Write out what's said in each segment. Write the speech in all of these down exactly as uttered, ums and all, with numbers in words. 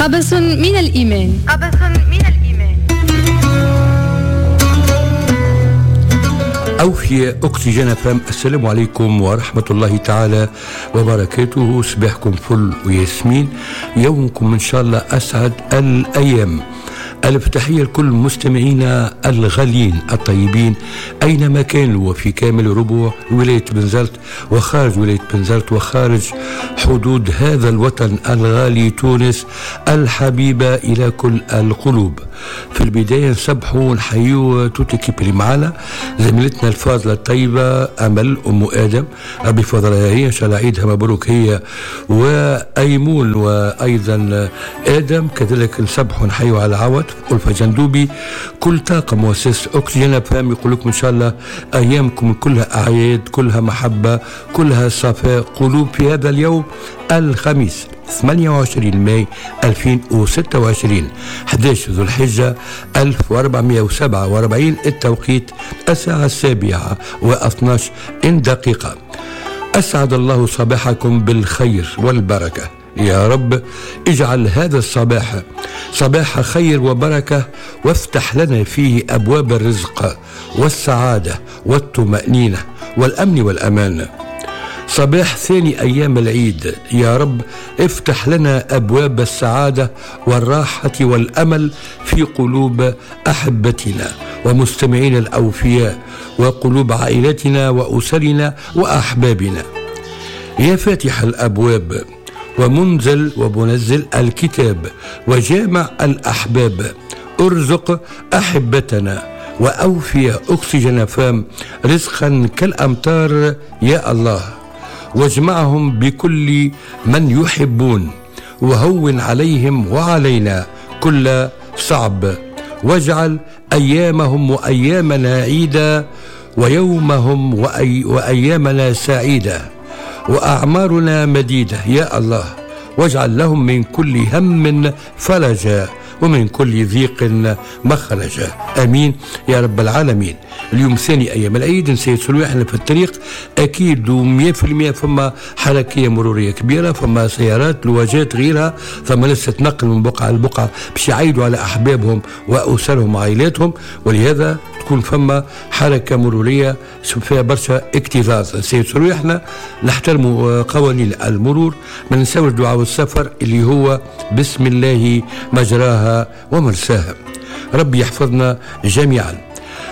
قبس من الإيمان. قبس من الإيمان. أوفياء أكسجين فام، السلام عليكم ورحمة الله تعالى وبركاته. صباحكم فل وياسمين، يومكم إن شاء الله أسعد الأيام. ألف تحية لكل مستمعينا الغاليين الطيبين أينما كانوا، وفي كامل ربوع ولاية بنزرت وخارج ولاية بنزرت وخارج حدود هذا الوطن الغالي تونس الحبيبة إلى كل القلوب. في البداية نسبحوا ونحيوا toute l'équipe اللي معنا، زميلتنا الفاضلة الطيبة أمل أم آدم، ربي فضلها هي، إن شاء الله عيدها مبروك هي وأيمون وأيضا آدم. كذلك نسبحوا ونحيوا على عوض ألفة جندوبي، كل طاقم مؤسسة أكسجين فام يقول لكم إن شاء الله أيامكم كلها أعياد، كلها محبة، كلها صفاء قلوب في هذا اليوم الخميس ثمانية وعشرين ماي ألفين وستة وعشرين، أحد عشر ذو الحجة ألف وأربعمائة وسبعة وأربعين، التوقيت الساعة السابعة واثناش دقيقة. أسعد الله صباحكم بالخير والبركة يا رب، اجعل هذا الصباح صباح خير وبركة، وافتح لنا فيه أبواب الرزق والسعادة والطمأنينة والأمن والأمان. صباح ثاني أيام العيد يا رب، افتح لنا أبواب السعادة والراحة والأمل في قلوب أحبتنا ومستمعين الأوفياء وقلوب عائلتنا وأسرنا وأحبابنا. يا فاتح الأبواب ومنزل ومنزل الكتاب وجامع الأحباب، ارزق أحبتنا وأوفي أكسجين فام رزقا كالأمطار يا الله، واجمعهم بكل من يحبون، وهون عليهم وعلينا كل صعب، واجعل أيامهم وأيامنا عيدا، ويومهم وأي وأيامنا سعيدة، وأعمارنا مديدة يا الله، واجعل لهم من كل هم فرجا ومن كل ضيق مخرجا، آمين يا رب العالمين. اليوم ثاني أيام العيد، نسيت سلوي احنا في الطريق أكيد ومية في المية فما حركية مرورية كبيرة، فما سيارات لواجات غيرها، فما لسه تنقل من بقعة لبقعة باش يعيدوا على أحبابهم وأسرهم وعائلاتهم، ولهذا تكون فما حركة مرورية فيها برشا اكتظاظ. نسيت سلوي احنا نحترموا قوانين المرور، ما ننساوش دعاء السفر اللي هو بسم الله مجراها ومرساها. ربي يحفظنا جميعا.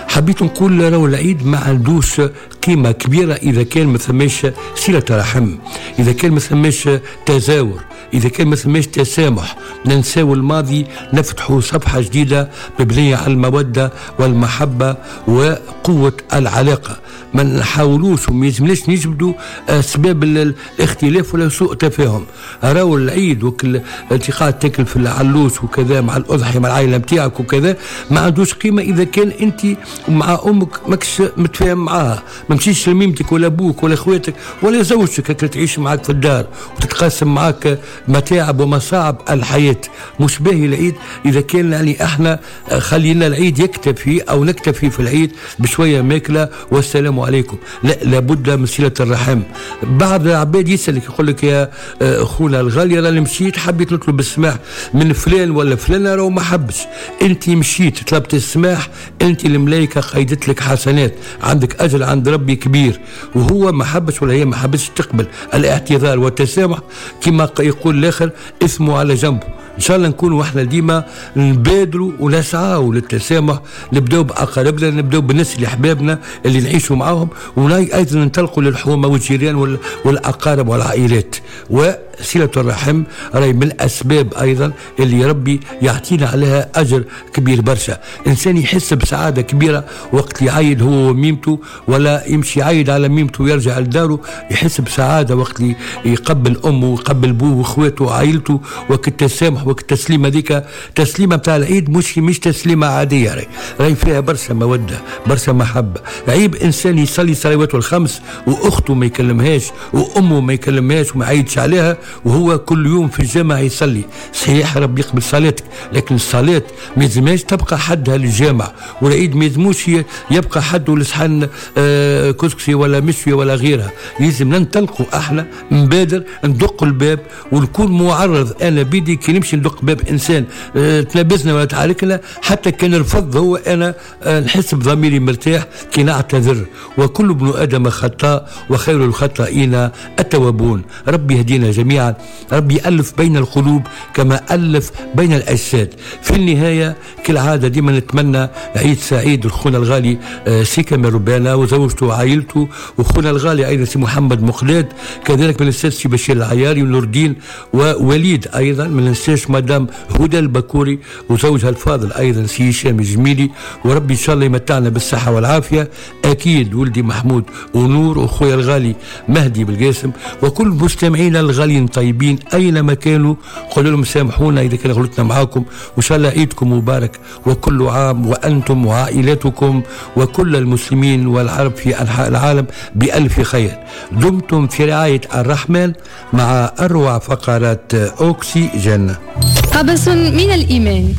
حبيت نقول راهو العيد ما عندوش قيمة كبيرة إذا كان ما ثماش صلة رحم، إذا كان ما ثماش تزاور، إذا كان ما ثماش تسامح. ننساو الماضي، نفتحوا صفحة جديدة مبنية على المودة والمحبة وقوة العلاقة. ما نحاولوش وما يلزمناش نجبدوا أسباب الاختلاف ولا سوء تفاهم. راهو العيد وكل انت قاعد تاكل في العلوش وكذا مع الأضحية مع العائلة نتاعك وكذا، ما عندوش قيمة إذا كان أنت مع أمك ماكش متفاهم معاها، ما مشيش لميمتك ولا أبوك ولا إخواتك ولا زوجتك هكا تعيش معاك في الدار وتتقاسم معاك متاعب ومصاعب الحياة. مش باهي العيد إذا كان يعني احنا خلينا العيد يكتفي أو نكتفي في العيد بشوية ماكلة والسلام عليكم. لا، لابد من صلة الرحم. بعض العباد يسألك يقول لك يا أخونا الغالي راني مشيت حبيت نطلب السماح من فلان ولا فلانة راهو ما حبش. أنت مشيت طلبت السماح، أنت الملائكة قيدت لك حسنات، عندك أجر عند ربي كبير، وهو ما حبش ولا هي ما حبش تقبل الاعتذار والتسامح. كما يقول الآخر اسمه على جنبه. إن شاء الله نكون واحنا ديما نبادروا ونسعوا للتسامح، نبداو بأقاربنا، نبداو بالناس اللي أحبابنا اللي نعيشوا معاهم، وأيضا ننطلقوا للحومة والجيران والأقارب والعائلات. وصلة الرحم راهي من الأسباب أيضا اللي ربي يعطينا عليها أجر كبير برشا. إنسان يحس بسعادة كبيرة وقت يعيد هو وميمته، ولا يمشي يعيد على ميمته ويرجع لداره، يحس بسعادة وقت يقبل أمه ويقبل بوه وإخواته وعائلته. وقت التسامح وقت التسليمة هذيك، تسليمة بتاع العيد مش مش تسليمة عادية، راهي راهي فيها برشا مودة برشا محبة. عيب إنسان يصلي صلواته الخمس وأخته ما يكلمهاش وأمه ما يكلمهاش وما يعيدش عليها وهو كل يوم في الجامع يصلي. صحيح ربي يقبل صلاتك، لكن الصلاة ما يلزمهاش تبقى حدها للجامع، والعيد ما يلزموش يبقى حده لصحن آه كسكسي ولا مشوي ولا غيرها. لازم ننطلقوا احنا، نبادر، ندق الباب ونكون معرض. انا بيدي كي نمشي ندق باب انسان آه تنابزنا ولا تعاركنا، حتى كان رفض هو، انا آه نحس بضميري مرتاح كي نعتذر. وكل ابن ادم خطاء وخير الخطائين التوابون. ربي يهدينا جميعا، ربي يألف بين القلوب كما ألف بين الأجساد. في النهاية كالعادة ديما نتمنى عيد سعيد لخونا الغالي سي كمال ربانا وزوجته وعائلته، وخونا الغالي أيضا سي محمد مقداد، كذلك ما ننساش سي بشير العياري ونور الدين ووليد، أيضا ما ننساش مدام هدى البكوري وزوجها الفاضل أيضا سي هشام الجميلي. وربي إن شاء الله يمتعنا بالصحة والعافية. أكيد ولدي محمود ونور وخويا الغالي مهدي بالقاسم وكل مستمعينا الغاليين الطيبين أينما كانوا، قولوا لهم سامحونا إذا كان غلطنا معاكم، وإن شاء الله عيدكم مبارك وكل عام وأنتم وعائلتكم وكل المسلمين والعرب في أنحاء العالم بألف خير. دمتم في رعاية الرحمن مع أروع فقرات أوكسجين. قبس من الإيمان.